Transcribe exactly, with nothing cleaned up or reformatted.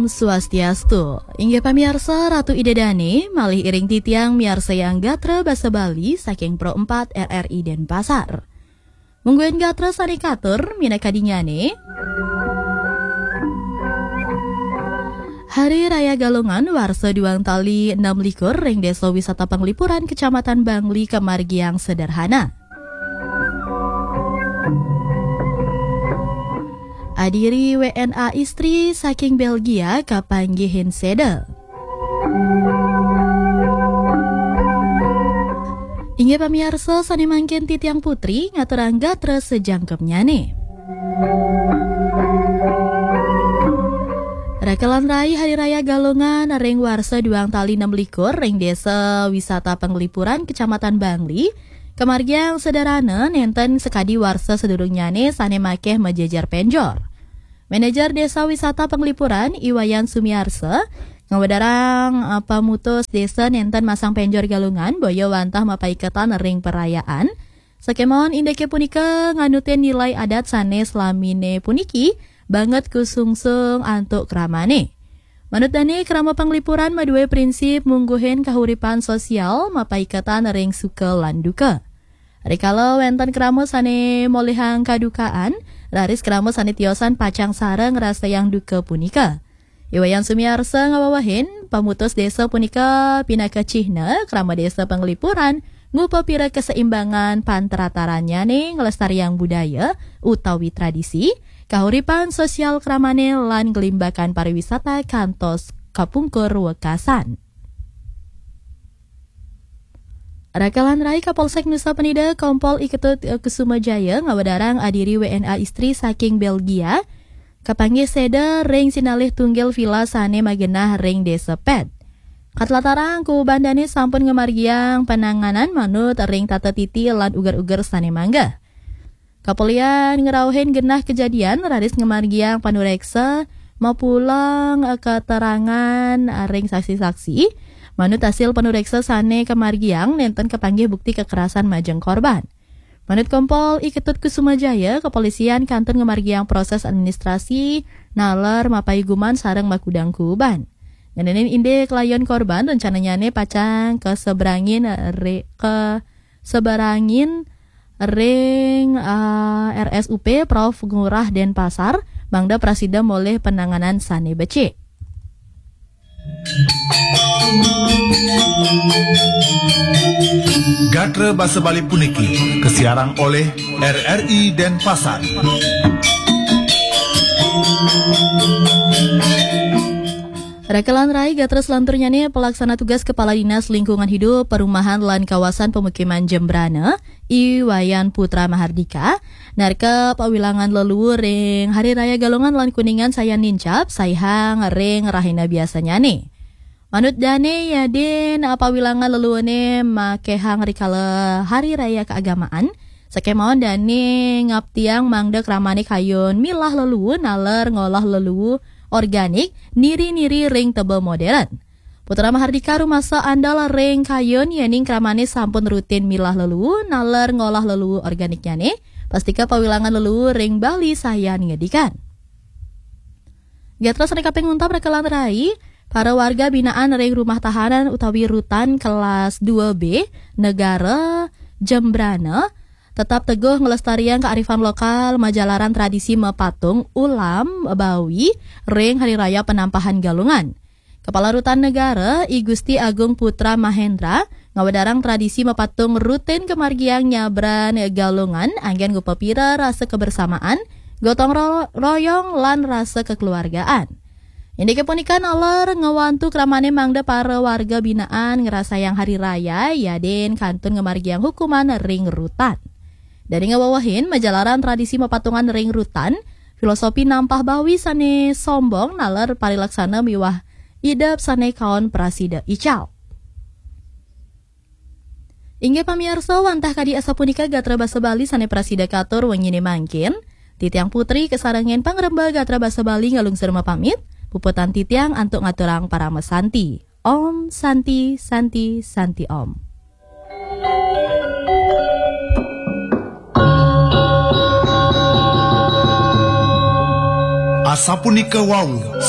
Swastiastu. Inggih pamiarsa, Ratu Ida Dane malih iring titiang miarsayang gatra basa Bali saking Pro empat R R I Denpasar. Mungguing gatra sane katur minakadinnyane. Hari Raya Galungan warsa duang tali enam likur ring Desa Wisata Penglipuran Kecamatan Bangli kamargiang sederhana. Adiri W N A istri saking Belgia kapanggihin seda. Inggih pamiarsa, sane mangkin titiang putri ngaturang gatra sajangkepnyane. Rakalan rai Hari Raya Galungan ring warsa duang tali enam likur ring Desa Wisata Penglipuran Kecamatan Bangli kamargiang sederhana nenten sakadi warsa sadurungnyane sane makeh majejer penjor. Manajer Desa Wisata Penglipuran, I Wayan Sumiarsa, ngawedarang, eh, pamutus desa nenten masang penjor Galungan boya wantah mapaiketan ring perayaan. Sakemawon indike punika nganutin nilai adat sane slamine puniki banget kusungsung antuk kramane. Manut dane, krama Penglipuran madue prinsip mungguhin kahuripan sosial mapaiketan ring suka lan duka. Rikala wenten krama sane molihang kadukaan, raris krama sane tiosan pacang sareng ngrasayang duka punika. I Wayan Sumiarsa ngawewehin, pamutus desa punika pinaka cihna krama Desa Penglipuran ngupapira kaseimbangan pantratarannyane nglestariang budaya utawi tradisi, kahuripan sosial kramane lan nglimbakan pariwisata kantos kapungkur wekasan. Rakalan rai Kapolsek Nusa Penida Kompol I Ketut, eh, Kusuma Jaya ngawedarang adiri W N A istri saking Belgia kapanggih seda ring sinalih tunggil vila sane magenah ring Desa Pet. Katlatarang kubandane sampun ngamargiang pananganan manut ring tata titi lan uger-uger sane mangga. Kapolian ngrauhin genah kejadian raris ngamargiang panureksa mapulang, eh, keterangan, eh, ring saksi-saksi. Manut hasil panureksa sane kamargiang nenten kapanggih bukti kekerasan majeng korban. Manut Kompol I Ketut Kusuma Jaya, kepolisian kantun ngamargiang proses administrasi naler mapaiguman sareng makudang kuuban. Ngenenin indik layon korban rencananyane pacang kaseberangin, eh, re-, kaseberangin ring, eh, R S U P Prof Ngurah Denpasar, mangda prasida molih penanganan sane becik. Gatra basa Bali puniki kasiarang olih R R I Denpasar. Rakalan rai, gatra selanturnyane, pelaksana tugas Kepala Dinas Lingkungan Hidup, Perumahan lan Kawasan Pemukiman Jembrana, I Wayan Putra Mahardika, narka pawilangan leluhur ring Hari Raya Galungan lan Kuningan sayan nincap, saihang ring rahina biasanyane. Manut dane, yadin pawilangan leluhurne makehang rikala Hari Raya Keagamaan, sakemawon dane ngaptiang mangda kramane kayun milah leluhur naler ngolah leluhur organik niri-niri ring teba modern. Putra Mahardika rumasa andal ring kayun, yening kramane sampun rutin milah leluhur naler ngolah leluhur organiknyane, pastika pawilangan leluhur ring Bali sayan ngedikan. Gatra sane kaping untat, rakalan rai, para warga binaan ring rumah tahanan utawi rutan kelas dua B Negara Jembrana tetap teguh nglestariang kearifan lokal majalaran tradisi mapatung ulam Bawi ring Hari Raya Penampahan Galungan. Kepala Rutan Negara, I Gusti Agung Putra Mahendra, ngawedarang tradisi mapatung rutin kamargiang nyabran Galungan anggen ngupapira rasa kebersamaan, gotong ro-, royong, lan rasa kekeluargaan. Indike punika naler ngwantu kramane mangda para warga binaan ngrasayang hari raya, yadin kantun ngamargiang hukuman ring rutan. Dane ngawewehin, majalaran tradisi mapatungan ring rutan, filosofi nampah Bawi sane sombong naler parilaksana miwah idep sane kaon prasida ical. Inggih pamiarsa, wantah kadi asapunika gatra basa Bali sane prasida katur wengine mangkin. Titiang Putri kasarengin pangremba gatra basa Bali ngalungsur mapamit. Puputang titiang antuk ngaturang parama santi. Om Santi, Santi, Santi Om. Asapunika wau,